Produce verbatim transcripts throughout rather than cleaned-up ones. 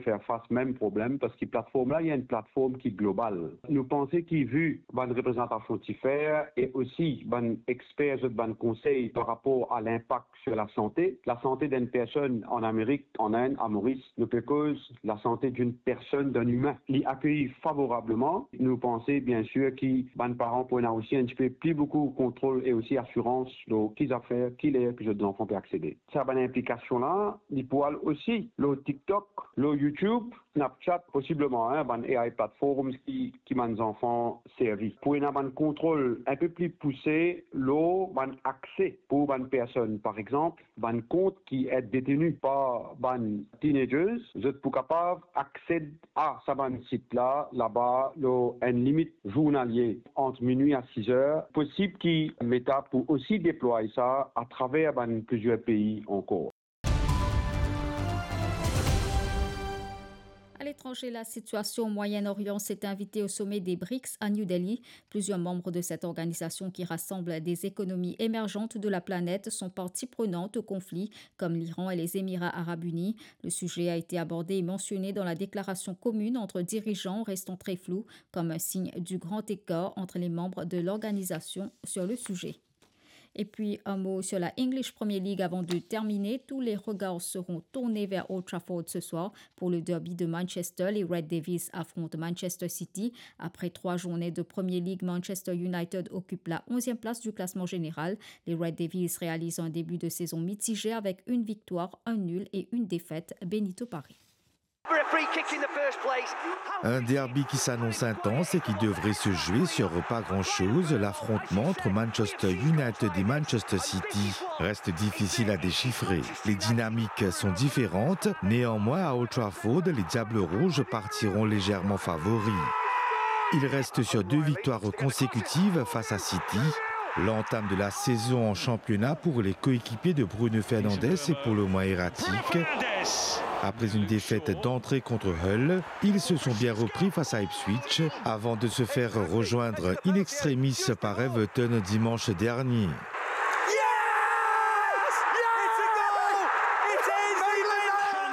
fer fas mem problem, parski platform la, li enn platform ki global. Nou panse ki, vi bann reprezantasion ti fer e osi bann exper zot bann konsey par rapor a linpak sur lasante, lasante d'enn personn an Amerik, an Inn, a Moris, nou pe koz lasante d'enn personn, d'enn imin, li akeyir favorableman. Nou panse, biensir, ki bann paran pou ena osi enn tipe pli boukou kontrol e osi asirans lor ki zafer, ki ler ki zot zanfan pe aksede. Sa bann inplikasion la, li pou al osi lor TikTok, lor YouTube, Snapchat, posibleman, hein, bann A I platforms ki, ki bann zanfan servi. Pou ena bann kontrol enn pe pli pouse lor bann akse pou bann personn. Par exanp, bann kont ki et deteni par bann teenagers, zot pou kapav aksed a sa bann sit la, laba lor enn limit zournalie ant minwi a siz er. Posib ki Meta pou osi deplway sa atraver bann plizier pei ankor. À l'étranger, la situation au Moyen-Orient s'est invitée au sommet des brics à New Delhi. Plusieurs membres de cette organisation qui rassemble des économies émergentes de la planète sont parties prenantes au conflit, comme l'Iran et les Émirats arabes unis. Le sujet a été abordé et mentionné dans la déclaration commune entre dirigeants, restant très floue, comme un signe du grand écart entre les membres de l'organisation sur le sujet. Et puis, un mot sur la English Premier League avant de terminer. Tous les regards seront tournés vers Old Trafford ce soir. Pour le derby de Manchester, les Red Devils affrontent Manchester City. Après trois journées de Premier League, Manchester United occupe la onzième place du classement général. Les Red Devils réalisent un début de saison mitigé avec une victoire, un nul et une défaite. Benito Paré. Un derby qui s'annonce intense et qui devrait se jouer sur pas grand-chose. L'affrontement entre Manchester United et Manchester City reste difficile à déchiffrer. Les dynamiques sont différentes. Néanmoins, à Old Trafford, les Diables Rouges partiront légèrement favoris. Ils restent sur deux victoires consécutives face à City. L'entame de la saison en championnat pour les coéquipiers de Bruno Fernandes est pour le moins erratique. Après une défaite d'entrée contre Hull, ils se sont bien repris face à Ipswich avant de se faire rejoindre in extremis par Everton dimanche dernier.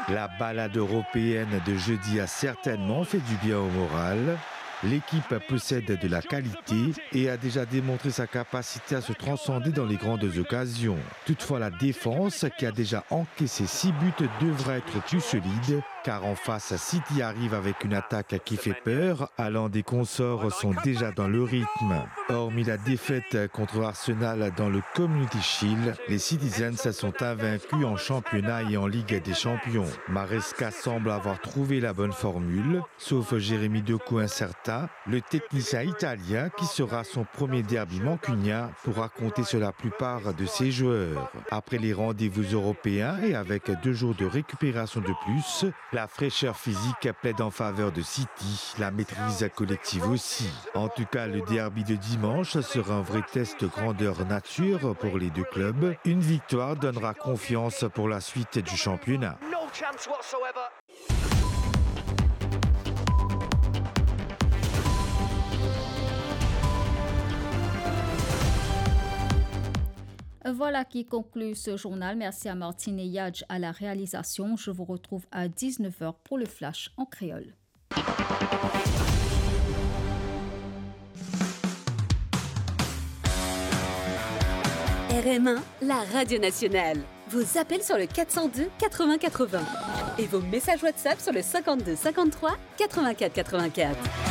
La balade européenne de jeudi a certainement fait du bien au moral. L'équipe possède de la qualité et a déjà démontré sa capacité à se transcender dans les grandes occasions. Toutefois, la défense, qui a déjà encaissé six buts, devra être plus solide, car en face, City arrive avec une attaque qui fait peur, Haaland et consorts sont déjà dans le rythme. Hormis la défaite contre Arsenal dans le Community Shield, les Citizens sont invaincus en championnat et en Ligue des Champions. Maresca semble avoir trouvé la bonne formule. Sauf Jérémy Doku incertain, le technicien italien, qui sera son premier derby mancunien, pourra compter sur la plupart de ses joueurs. Après les rendez-vous européens et avec deux jours de récupération de plus, la fraîcheur physique plaide en faveur de City, la maîtrise collective aussi. En tout cas, le derby de dimanche sera un vrai test grandeur nature pour les deux clubs. Une victoire donnera confiance pour la suite du championnat. Voilà qui conclut ce journal. Merci à Martine et Yadj à la réalisation. Je vous retrouve à dix-neuf heures pour le flash en créole. R M un, la radio nationale. Vos appels sur le quatre cent deux quatre-vingts quatre-vingts et vos messages WhatsApp sur le cinquante-deux cinquante-trois quatre-vingt-quatre quatre-vingt-quatre.